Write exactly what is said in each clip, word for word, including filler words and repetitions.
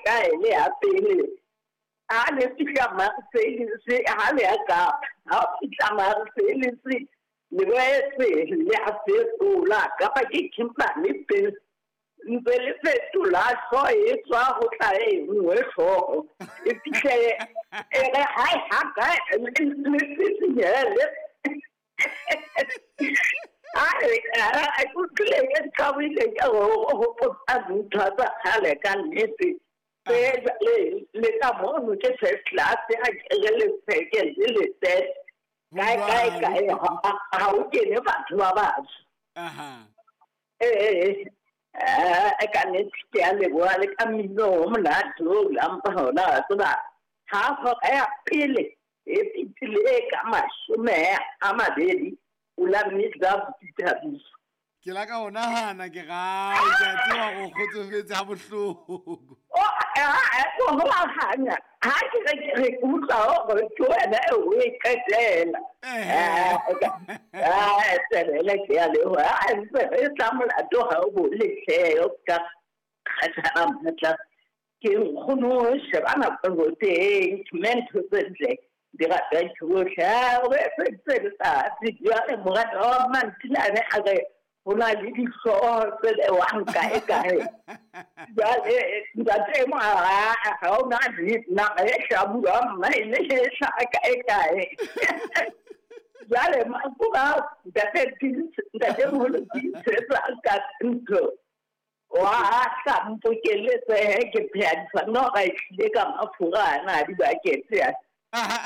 kae le ya pele ha le fihla Marseille ha le ya Kapa ha o fihla Marseille le boetse le a fetola kapa ke Kimberley pele ntse le fetola hlooho e tswa ho tla e nngwe hlooho e fihle e re hai ha kae le fihlele a utlwile ke thabile ka ho hopotsa ntho tsa kgale ka nnete le le ka mono ke first class ha ke le second le third kae kae kae ha o kene batho ba batsho. Aha. Ee eh ka nnete ke a leboha le ka mmino o monate o lampa hona wa tseba ha hora ya pele e fetile ka mashome a mabedi o la mmitsa Thabiso. Ke la ka o nahana ke gae ke a tseba go kgotsofetse ha bohloko. O a ko ho hanya ha ke re ke re utlwa hore ke wena e o e qetela. Eh ah tsebele ke a leboha a ntse re tla molato ha o bole hle o ka kgathala matla ke nkgono shebana go teng ntho tse ntle di rata ke bohle o be tse letsatsi jwale moradi wa Mantilane a re ho na le dihlooho tse bewang kae kae jwale ntate mo ha ha o na naha e hlabula mma e ne e hlaha kae kae jwale makuba ntate ntate moholo tiisetsa ka ntho wa hla mpokeletse he ke pheha difanora e tlile ka mafura ana a dibakete a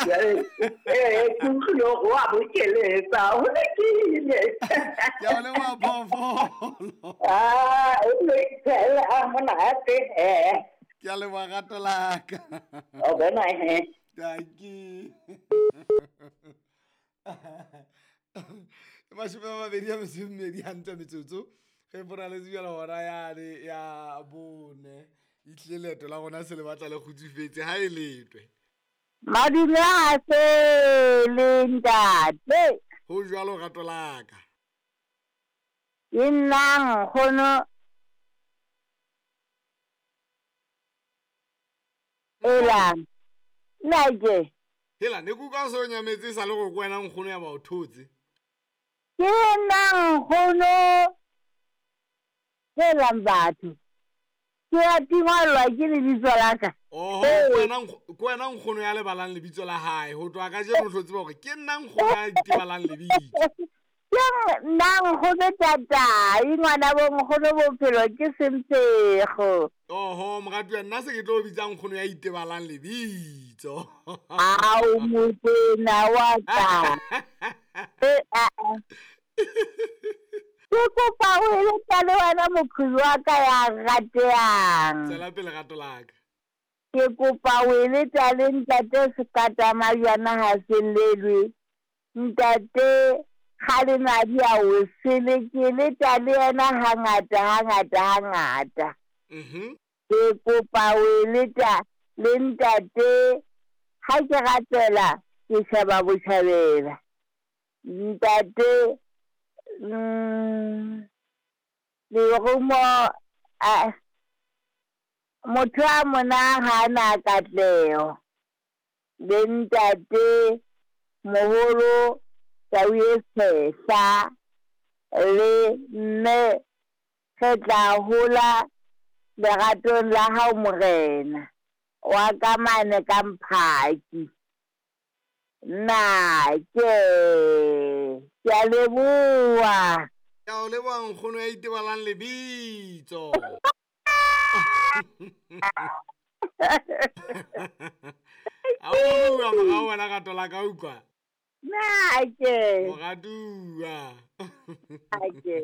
jwale ee ke utlwile hore wa bokeletsa ho lokile. Ke a o leboha phoofolo. Ah, o lokile ha monate he. Ke a leboha rato la ka. O bona he. Dankie. Mashome a mabedi a metso e mmedi hantle metsotso ge boraletse bjala hora yane ya bone e tlile leeto la rona se le batla le kgutsufetse ha e letwe. Madume a sele ntate. Ho jwalo rato la ka. Ke nna nkgono Ela nna ke. Hela ne kuka o se o nyametse e sa le go ke wena nkgono ya ba o thotse. Ke nna nkgono helang batho ke a tingwalwa ke lebitso la ka. Oho ke wena ke wena nkgono ya lebalang lebitso la hae ho tloha kajeno o tlo tseba hore ke nna nkgono ya itebalang lebitso. Ke nna nkgono tatai ngwana bo nkgono bophelo ke sempego. Oho moratuwa nna se ke tlo bitsa nkgono ya itebalang lebitso. Ao motena wa ka. Eh a a. Ke kopa o eletsa le wena moqhubi wa ka ya ratehang. Tswela pele rato la ka. Ke kopa o eletsa le ntate Sekata Majwana ha se llelwe. Ntate Kgalemadi a o sele ke eletsa le yena hangata hangata hangata. Mhm. Ke kopa o eletsa le ntate ha ke ratela ke sheba botjhabela. Ntate mm lerumo a motho a mona ha na katleho le ntate moholo Tau e Tshehla le mme re tla hola leratong la hao morena wa ka mane ka Mphaki. Nna ke ke a leboha. Ke a o leboha nkgono ya itebalang lebitso. A o bua morao wena rato la ka utlwa. Nna ke. Moratuwa. Ake.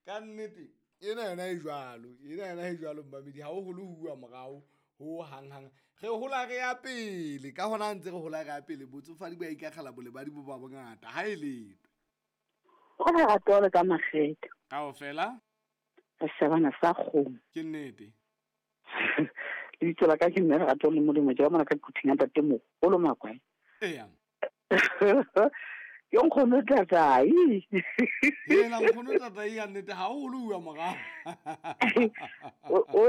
Ka nnete ena yona e jwalo, ena yona e jwalo mmamedi ha o hole ho bua morao ho hang hang. Re hola re ya pele ka hona ntse re hola re ya pele botsofadi bo a ikakgela bolebadi bo ba bongata ha e letwe. O lerato le ka makgetho. Kaofela Re shebana sa kgomo. Ke nnete. Lebitso la ka ke mme Lerato le Molemo ke ba mona ka quthing ya ntate moholo Makwae. Eya. Ke nkgono tatai. Hela nkgono tatai ya nnete ha o hole ho bua morao. O o